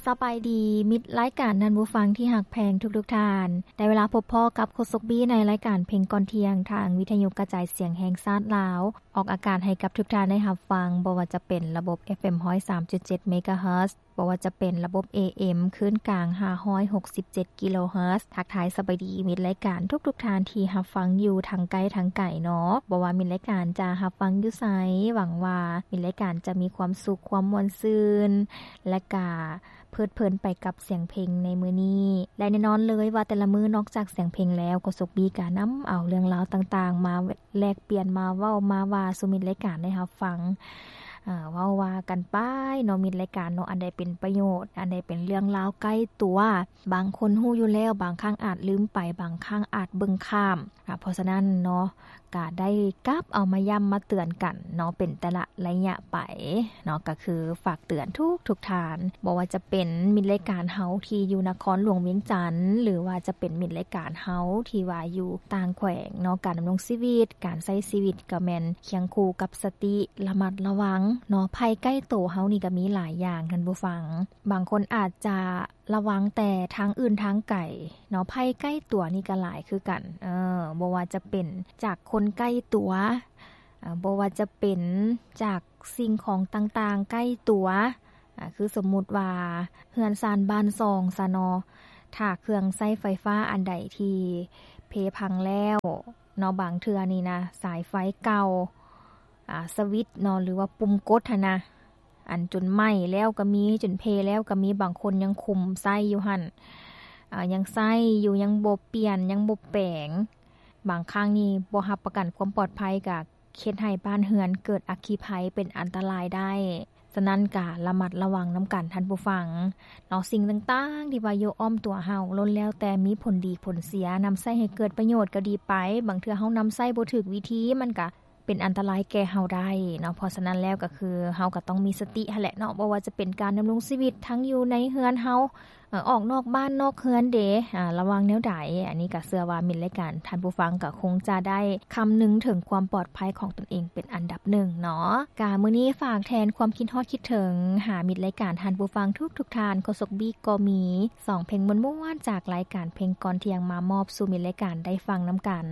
ສະບາຍດີ ມິດລາຍການທ່ານຜູ້ຟັງທີ່ຮັກແພງທຸກໆທ່ານ. ໄດ້ເວລາພົບພໍ້ກັບໂຄສົກບີໃນລາຍການເພງກ່ອນທ່ຽງ ທາງວິທະຍຸກະຈາຍສຽງແຫ່ງຊາດລາວ, ອອກອາກາດໃຫ້ກັບທຸກທ່ານໄດ້ຮັບຟັງ, ບໍ່ວ່າຈະເປັນລະບົບ ເອັຟເອັມ ຮ້ອຍສາມຈຸດເຈັດ ເມກາເຮີດ, ບໍ່ວ່າຈະເປັນລະບົບ ເອເອັມ ຄື້ນກາງ ຫ້າຮ້ອຍຫົກສິບເຈັດ ກິໂລເຮີດ. ທັກທາຍສະບາຍດີມິດລາຍການທຸກໆທ່ານທີ່ຮັບຟັງຢູ່ທັງໃກ້ທັງໄກເນາະ, ບໍ່ວ່າມິດລາຍການຈະຮັບຟັງຢູ່ໃສ, ຫວັງວ່າມິດລາຍການຈະມີຄວາມສຸກ, ຄວາມມ່ວນຊື່ນ ແລະກະ ເພີດເພີນໄປກັບສຽງເພງໃນມື້ນີ້ ແລະແນ່ນອນເລີຍວ່າແຕ່ລະມື້ນອກຈາກສຽງເພງແລ້ວ ໂຄສົກບີກະນຳເອົາເລື່ອງລາວຕ່າງໆ ມາແລກປ່ຽນ ມາເວົ້າ ມາວ່າສູ່ມິດລາຍການໄດ້ຮັບຟັງ, ເວົ້າວ່າກັນໄປເນາະ ມິດລາຍການເນາະ, ອັນໃດເປັນປະໂຫຍດ, ອັນໃດເປັນເລື່ອງລາວໃກ້ຕົວ, ບາງຄົນຮູ້ຢູ່ແລ້ວ, ບາງຄັ້ງອາດລືມໄປ, ບາງຄັ້ງອາດເບິ່ງຂ້າມ. ເພາະສະນັ້ນເນາະ ກະໄດ້ກັບເອົາມາຢ້ຳມາເຕືອນກັນເນາະ ເປັນແຕ່ລະໄລຍະໄປເນາະ, ກະຄືຝາກເຕືອນທຸກໆທ່ານ, ບໍ່ວ່າຈະເປັນມິດລາຍການເຮົາທີ່ຢູ່ນະຄອນຫຼວງວຽງຈັນ ຫຼືວ່າຈະເປັນມິດລາຍການເຮົາທີ່ວ່າຢູ່ຕ່າງແຂວງເນາະ, ການດຳລົງຊີວິດ, ການໃຊ້ຊີວິດກະແມ່ນຄຽງຄູ່ກັບສະຕິ ລະມັດລະວັງເນາະ. ໄພໃກ້ໂຕເຮົານີ້ກະມີຫຼາຍຢ່າງທ່ານຜູ້ຟັງ, ບາງຄົນອາດຈະ ລະວັງແຕ່ທາງອື່ນທາງໄກເນາະ, ໄພໃກ້ຕົວນີ້ກະຫຼາຍຄືກັນ, ເອີ ບໍ່ວ່າຈະເປັນຈາກຄົນໃກ້ຕົວ, ເອີ ບໍ່ວ່າຈະເປັນຈາກສິ່ງຂອງຕ່າງໆໃກ້ຕົວ, ອາ ຄືສົມມຸດວ່າເຮືອນຊານບ້ານຊ່ອງຊະເນາະ, ຖ້າເຄື່ອງໃຊ້ໄຟຟ້າອັນໃດທີ່ເພພັງແລ້ວເນາະ, ບາງເທື່ອນີ້ນະ ສາຍໄຟເກົ່າ, ອາ ສະວິດເນາະ ຫຼືວ່າປຸ່ມກົດຫັ້ນນະ, ອັນຈົນໄໝ້ແລ້ວກະມີ, ຈົນເພແລ້ວກະມີ, ບາງຄົນຍັງຄຸມໃຊ້ຢູ່ຫັ້ນ, ອາ ຍັງໃຊ້ຢູ່, ຍັງບໍ່ປ່ຽນ, ຍັງບໍ່ແປງ. ບາງຄັ້ງນີ້ບໍ່ຮັບປະກັນຄວາມປອດໄພ ກະເຮັດໃຫ້ບ້ານເຮືອນເກີດອັກຄີໄພເປັນອັນຕະລາຍໄດ້. ສະນັ້ນກະລະມັດລະວັງນຳກັນທ່ານຜູ້ຟັງເນາະ. ສິ່ງຕ່າງໆທີ່ວ່າຢູ່ອ້ອມຕົວເຮົາ ລ້ວນແລ້ວແຕ່ມີຜົນດີຜົນເສຍ, ນຳໃຊ້ໃຫ້ເກີດປະໂຫຍດກະດີໄປ, ບາງເທື່ອເຮົານຳໃຊ້ບໍ່ຖືກວິທີ ມັນກະ ເປັນອັນຕະລາຍແກ່ເຮົາໄດ້ເນາະ. ເພາະສະນັ້ນແລ້ວກະຄືເຮົາກະຕ້ອງມີສະຕິຫັ້ນແຫຼະເນາະ, ບໍ່ວ່າຈະເປັນການດຳລົງຊີວິດທັງຢູ່ໃນເຮືອນເຮົາ, ເອີ ອອກນອກບ້ານນອກເຮືອນເດ, ອາ ລະວັງແນວໃດ. ອັນນີ້ກະເຊື່ອວ່າມິດລາຍການທ່ານຜູ້ຟັງກະຄົງຈະໄດ້ຄຳນຶງເຖິງຄວາມປອດໄພຂອງຕົນເອງເປັນອັນດັບໜຶ່ງເນາະ. ກະມື້ນີ້ຝາກແທນຄວາມຄິດຮອດຄິດເຖິງຫາມິດລາຍການທ່ານຜູ້ຟັງທຸກໆທ່ານ, ໂຄສົກບີກະມີສອງເພງມ່ວນໆຈາກລາຍການເພງກ່ອນທ່ຽງມາມອບສູ່ມິດລາຍການໄດ້ຟັງນຳກັນ.